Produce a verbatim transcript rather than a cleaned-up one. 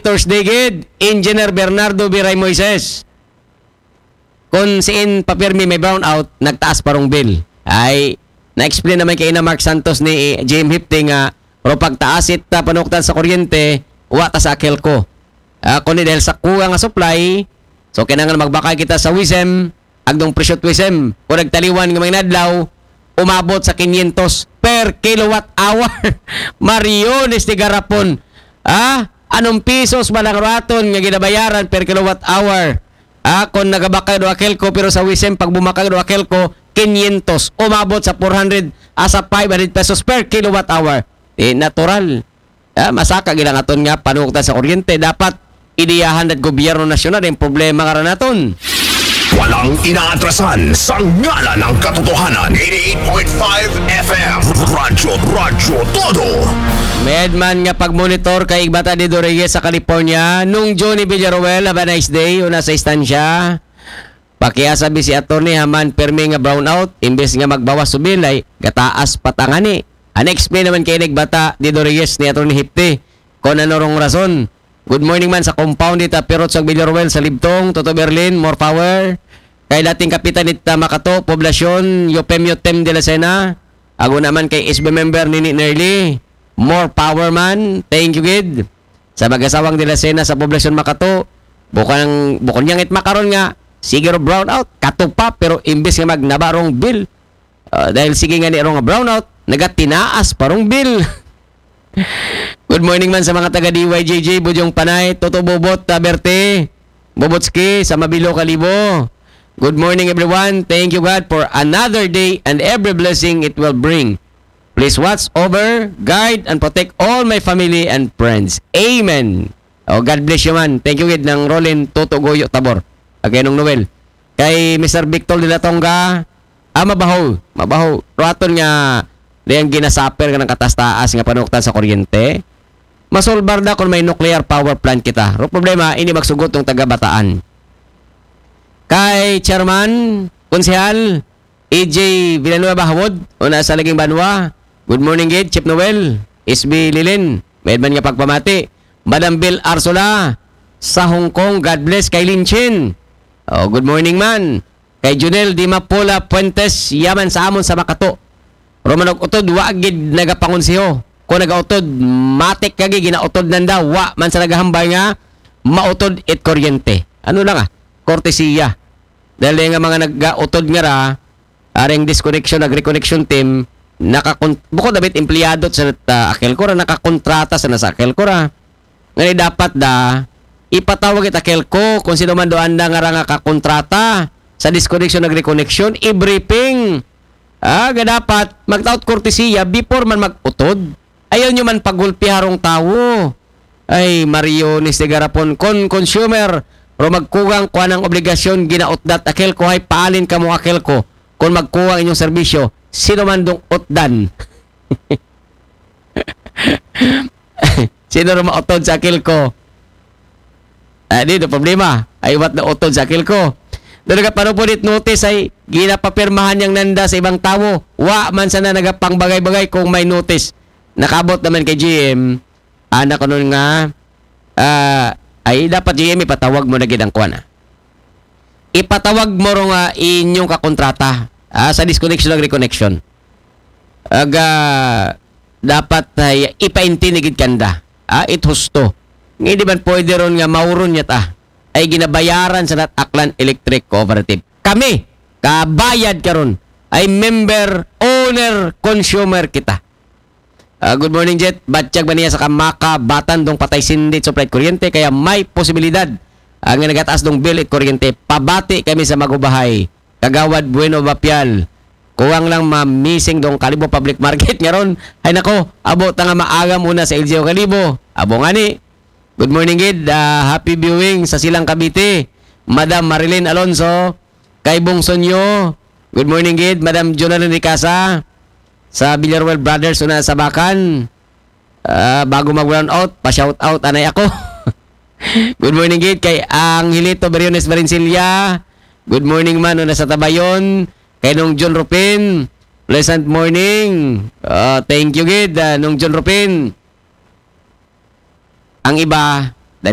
Thursday gid, Engineer Bernardo Biray Moises. Kung siin pa pirmi may brownout, nagtaas pa rong bill. Ay, na-explain naman kay ina Mark Santos ni J M Hipti nga, pero pagtaas it, ah, panuktan sa kuryente, wa ta sa Akelco. Ah, kundi dahil sa kulang nga supply, so kinahanglan magbakay kita sa WISM, agdong presyo WISM, kung nagtaliwan nga mga inadlaw, umabot sa kinyentos per kilowatt hour. Mariones de Garapon. Ah, anong pisos ba lang raton nga ginabayaran per kilowatt hour? Ah, kung nagabakay do Akelco, pero sa WISM, pag bumakay do Akelco, kinyentos. Umabot sa four hundred, asa five hundred pesos per kilowatt hour. Eh, natural. Ah, masaka gilang aton nga panuktan sa kuryente. Dapat ideyahan at gobyerno nasyonal yung problema nga ra naton. Walang inaatrasan sa ngalan ng katotohanan. eighty-eight point five F M. Radyo, Radyo Todo. Medman nga pagmonitor kay Igbata di Doreyes sa California. Nung Johnny Villaruel, have a nice day. Una sa istansya. Pakiasabi si attorney haman permi nga brownout, imbes nga magbawas subilay, gataas patangani. An explain naman kay Igbata di Doreyes ni attorney Hipti. Kung ano rong rason. Good morning man sa compound dita, Pirot sa Villaruel sa Libtong, Toto Berlin, more power. Kay dating kapitan nita Makato, Poblasyon, Yopem Yotem de la Sena. Ago naman kay S B member Nini Nerly. More power man. Thank you, gid. Sa mag-asawang de la Sena sa Poblasyon Makato, bukang, bukon niyang it makaron nga, sige ro brownout, katupa, pero imbes nga magnaba rong bill. Ah, dahil sige nga ni rong brownout, nagatinaas pa rong bill. Good morning man sa mga taga D Y J J, Budyong Panay, Toto Bobot, Taberte, Bobotski, sa Mabilo, Kalibo. Good morning, everyone. Thank you, God, for another day and every blessing it will bring. Please watch over, guide, and protect all my family and friends. Amen. Oh, God bless you man. Thank you, gid, ng Rolin Toto Goyo Tabor. Again, nung Noel. Kay Mister Victor de la Tonga, ah, mabaho, mabaho. Raton nga, diyang ginasaper nga ng katastaas nga panuktan sa kuryente. Masolbar na kung may nuclear power plant kita. Ro problema, hindi magsugot ng taga-Bataan. Kay Chairman, Konsehal, A J Villanueva Hawod, una sa Laging Banwa. Good morning, gid, Chief Noel, S B Lilin, may man nga pagpamati. Madam Bill Arsola, sa Hong Kong, God bless kay Lin Chin. Oh, good morning man. Kay Junel Dimapula Fuentes, yaman sa amon sa Makato. Romanog utod, wa gid nagapangonseho. Kung nagautod, matik kagi ginautod nanda, wa man sa nagahambal nga mautod it kuryente. Ano lang ah, kortesiya. Dahil nga mga nagautod nga ra, aring disconnection, nag-reconnection team, nakakon-, bukod abit empleyado sa, ah, Akelco ra, nakakontrata sa nasa Akelco ra. Nga ni dapat da, ipatawag it Akelco kung sino man doon na nga ra nga kakontrata sa disconnection, nag-reconnection, i-briefing. Ah, ga dapat, magtaot kortesiya before man mag-utod. Ayaw nyo man pagulpi harong tawo. Ay, Mario ni Sigarapon, kon consumer, ro magkugang kuan ang obligasyon, ginautdat Akelco, hay paalin kamo Akelco, kon magkugang inyong serbisyo, sino man dong utdan? Sino ro mautod sa Akelco? Ah, di, no problema. Ay, what na utod sa Akelco? Doon nagapano po dit notice ay ginapapirmahan niyang nanda sa ibang tawo. Wa man sana nagapangbagay-bagay kung may notice. Nakabot naman kay G M. Anak ko nun nga, ah, ay dapat G M ipatawag mo na gid ang kuan, ah. Ipatawag mo ro nga inyong kakontrata, ah, sa disconnection ug reconnection. Aga, dapat ay ipaintinigid kanda. Ah, it husto. Nga di man pwede ron nga mauron niya ta. Ay ginabayaran sa nat Aklan Electric Cooperative. Kami, kabayad karon, ay member, owner, consumer kita. Ah, good morning, Jet. Batyag ba niya sa kamaka, batan dong patay sindit supply kuryente, kaya may posibilidad ang nagataas dong bill it kuryente. Pabati kami sa magubahay. Kagawad Bueno Bapial. Kuwang lang ma-missing dong Kalibo Public Market nga ron. Ay nako, abo ta nga maagam una sa L G U Kalibo. Abo nga ni. Good morning, gid. Ah, happy viewing sa Silang Cavite. Madam Marilyn Alonso, kay Bong Sonyo. Good morning, gid. Madam Jonalyn Ricasa, sa Villarreal Brothers, una sa Bakan. Ah, bago mag-brown out, pa-shout out, anay ako. Good morning, gid, kay Angelito Beriones Varencilla. Good morning man, una sa Tabayon. Kay Nung John Rupin, pleasant morning. Ah, thank you, gid, ah, Nung John Rupin. Ang iba,